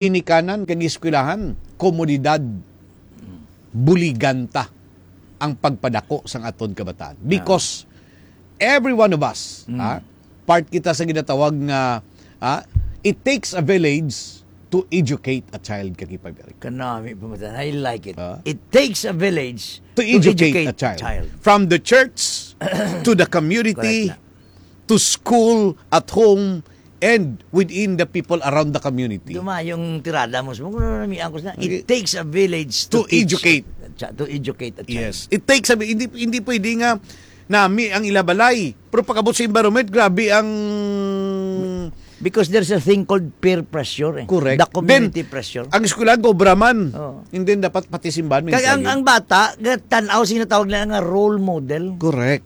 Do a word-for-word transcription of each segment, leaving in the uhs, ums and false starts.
ginikanan kag eskwelahan, komunidad, buligan ta ang pagpadako sang aton kabataan. Because every one of us, Mm. ha, part kita sa ginatawag nga, ha, it takes a village to educate a child, Ka Kipay Eric. Kanami pa man. I like it. Ah. It takes a village To to educate educate a child. child. From the church to the community, Correct na. to school, at home, and within the people around the community. Dumayong tirada mo. Sumo ko na nami angkos na. Okay. It takes a village To to teach educate. a chi-, to educate a child. Yes. It takes a, hindi, hindi pwede nga nami ang ilabalay. Pero pag-abot sa environment, grabe ang Because there's a thing called peer pressure eh. Correct. The community Then, pressure. ang eskwela, gobra man. Oo. And then, dapat pati simbahan may Kaya ang, sayod. ang bata, ga-, tanaw, sinatawag nila nga role model. Correct.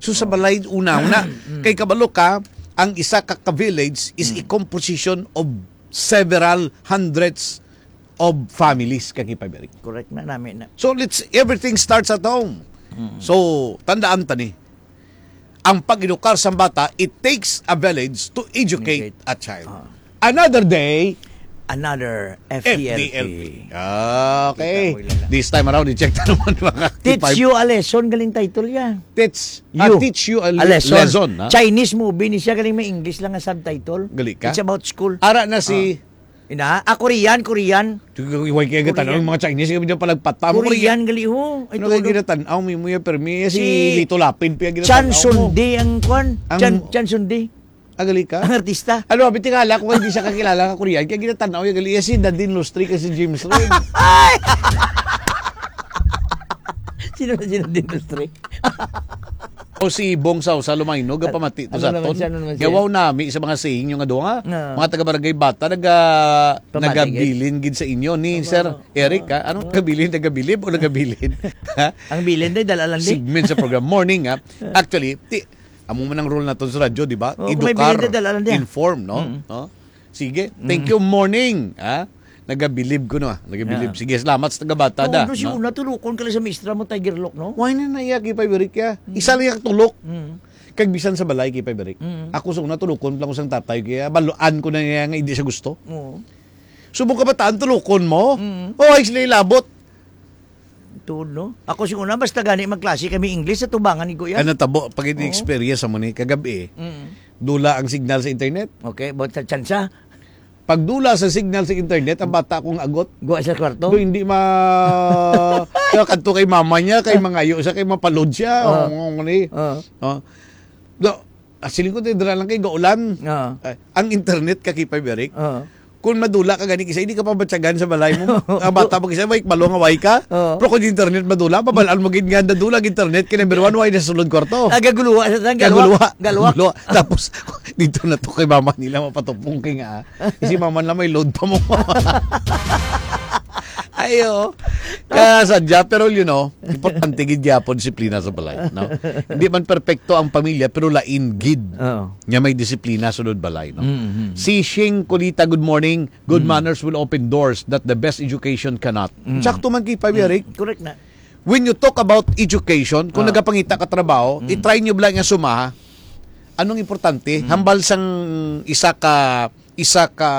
So, sa balay, una-una, Mm. kay kabalo ka, ang isa ka, ka village is a Mm. composition of several hundreds of families, Ka Kipay Eric. Correct na, nami na. So, let's, everything starts at home. Mm. So, tandaan ta ni, ang pag-edukar sa bata, it takes a village to educate Educate. a child. Ah. Another day, Another F D L P. F D L P. Ah, okay. Kita mo, Ilala. This time around, i-check na naman, mga Teach Kipay. You a lesson, galing title yan. Teach, ah, You. teach you a A le-, lesson. lesson, ha? Chinese movie ni siya, galing may English lang nga subtitle. Gali ka? It's about school. Ara na si Ah. Ina, ah, Korean, Korean. Way kaya gatan-aw Korean. ang mga Chinese, kaya dyan palagpata mo, Korean, Korean. gali ho. Ay, Ano kaya tulo. ginatan-aw, may muya, pero may si Si Lito Lapid, pa Chan ginatan-aw mo. Sundi ang kwan. Ang Chan, Chan Sundi. Ah, gali ka? Ang artista. Ano, abi, tingala ko, hindi siya kakilala ka Korean. Kaya ginatan-aw yung gali. Si Nadine Lustre kasi James Reid. Ay! Sino na si Nadine Lustre? O si Bong Sausa Lumayno, Ano, gapamati to ano sa naman aton. siya, ano naman siya? Yawaw nami sa mga saying yung adunga. Ah. Mga taga-barangay Bata, naga-, Pamati, nagabilin gid sa inyo ni Tama, Sir no? Eric, Ah. ha? Anong Ah. nagabilin? Nagabilib o nagabilin? Ha? Ang bilin, day, dala lang, day. Segment sa program. Morning, ha? Actually, ti-, amo man ang rule naton sa radyo, di ba? Oo, kung may Edukar, bilin, day, dala lang, day. inform, no? Mm. No? Sige. Mm. Thank you, morning, ha? Nagabilib ko, no? Nagabilib. Yeah. Sige, salamat sa taga-Bata, da, Tuod, no, si no? una, tulukon ka lang sa mistra mo, Tiger Lock, no? Why na naiya, Kipay Berik, ya? Mm. Isa lang yung tulok. Mm. Kag bisan sa balay, Kipay Berik. Mm. Ako sa una, tulukon lang ko sang tatay, kaya baluan ko na niya nga hindi siya gusto. Oo. Subong kabataan, tulukon mo? Mm. Oh, ay, sila ilabot. Tuod, no? Ako siguro na, basta gani magklase kami English sa tubangan ni Kuya. Ano tabo, pag Oo. experience mo ni kagabi, Mm. dula ang signal sa internet. Okay, but sa tsansa? Pagdula sa signal sa internet, ang bata akong agot. Guwa sa kwarto? Do, hindi ma-, kaya kadto kay mama niya, kay mangayo siya, kay mapalod siya. Oo. Oo, ano eh. Oo. Oh. Do, ah, siling ko, dira lang kay gaulan. Oo. Eh, ang internet, Ka Kipay Berik, Oo. kung madula ka gani, kisa hindi ka pabatyagan sa balay mo. Ang bata mo, kisa, may balo nga way ka. Oo. Pero kung internet madula, pabalaan mo gid nga nadula ang internet, kay number one, way na sa sulod kwarto. Ah, gaguluha sa tan-, Kaguluha. galwa. Galwa. Guluha. Tapos, dito na to kay mama nila mapatupong kay nga, ah. Kasi mama na may load pa mo. Ayo. Kasadya, pero you know, importante gid gyapon disiplina sa balay, no? Hindi man perpekto ang pamilya, pero lain gid Oo. nga may disiplina sulod balay, no? Mm, mm. Si Shing Kulita, good morning. Good Mm. manners will open doors that the best education cannot. Mm. Sakto man, Kipay Berik. Mm, correct na. When you talk about education, kung Ah. nagapangita ka trabaho, Mm. i-try nyo bala nga sumaha. Anong importante? Mm. Hambal sang isa ka, isa ka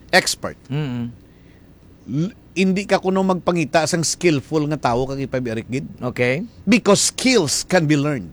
expert. Mm. L-, hindi ka kuno magpangita sang skillful nga tawo, Ka Kipay Berik, gid. Okay. Because skills can be learned.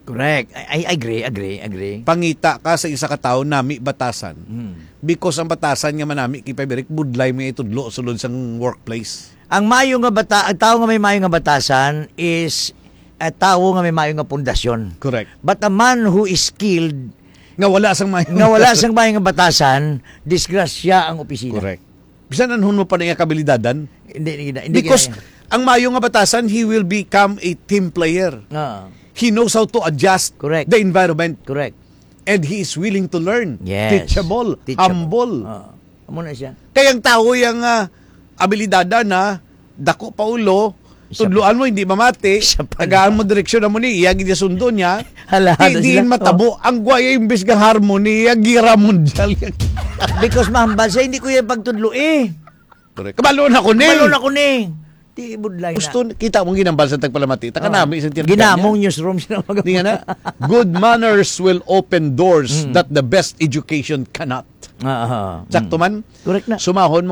Correct. I, I agree, agree, agree. Pangita ka sa isa ka tawo, nami batasan. Mm. Because ang batasan nga manami, Kipay Berik, budlay mo itudlo sulod sang workplace. Ang mayo nga bata-, ang tawo nga may mayo nga batasan is a tawo nga may mayo nga pundasyon. Correct. But a man who is skilled, Nga wala sang mayo nga wala batasan. sang mayo nga batasan, disgrasya ang opisina. Correct. Bisan anhon mo pa niya kabilidadan. Hindi, hindi, hindi Because kinaya. ang mayo nga batasan, he will become a team player. Ah. He knows how to adjust Correct. the environment. Correct. And he is willing to learn. Yes. Teachable, Teachable. humble. Ah. Amo na siya. Kaya ang tao yang, ah, abilidad na, dako pa ulo, Siya pa. tudloan mo, hindi mamati, Siya pa. tagaan mo direksyon na mo ni, iya gid sundo niya, Hala, di, hala diin sila. matabo, Oh. ang guwaya imbis nga harmony, iya gira mundial. Because mahambal siya, hindi ko yung pagtudlo eh. Correct. Kabalo na ko ni. Kabalo na ko ni. Di budlay na. Gusto, kita mo ginambal sa tagpalamati. Taka Oh. nami isang tinagyan Ginamong niya. newsroom siya na mag- Di nga na, "Good manners will open doors Mm. that the best education cannot." Ah, ah, Sakto mm. man? Correct na. Sumahon mo